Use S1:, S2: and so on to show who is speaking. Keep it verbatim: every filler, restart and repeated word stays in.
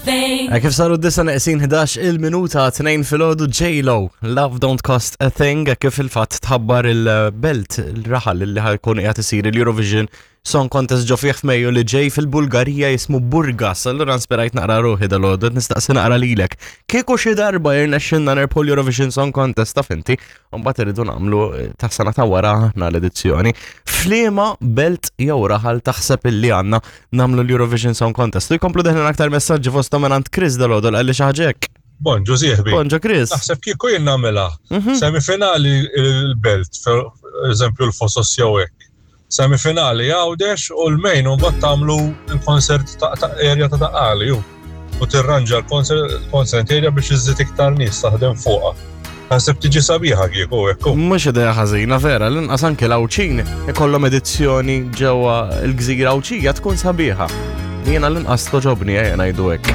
S1: thing.
S2: Eh, Kif saru d-disa neqsin ħdax il-minuta tnejn filgħodu, J-Lo, Love Don't Cost a Thing, kif il-fatt tħabbar il-belt, il-raħal li ħa jkun qiegħed isir il-Eurovision Song Contest ġo fih f'Mejju li ġej fil-Bulgarija, jismu Burgas. Allura nspirajt naqra ruħi dalgħodu, nistaqsi naqra lilek. Kieku xi darba jirnexxinna nerbħu l-Eurovision Song Contest, taf inti, u mbagħad irridu nagħmlu eh, ta' sena ta' wara aħna l-edizzjoni. F'liema belt jew raħal taħseb illi għandna nagħmlu l-Eurovision Song Contest? U jkomplu deħlin aktar messaġġi, fosthom minn Chris dalgħodu, għalli xi ħaġa hekk.
S3: Bonġu sieħbi.
S2: Bonġu, Chris.
S3: Naħseb kieku jien nagħmilha.
S2: Mhm.
S3: Semifinali il-belt, per eżempju l-Fosos jew hekk. Semifinali Għawdex u l-main u mbagħad tagħmlu l-concert ta' ta' area ta' Ta' Qali ju. U tirranġa l-concert area biex iżżid iktar nies taħdem fuqha. Naħseb tiġi sabiħa kieku hekk.
S2: Mhux idea ħażina vera, l-inqas anke l-Għawdxin ikollhom edizzjoni ġewwa l-gżira Għawdxija, tkun sabiħa. Jiena l-inqas togħġobni, ejja ngħidu hekk.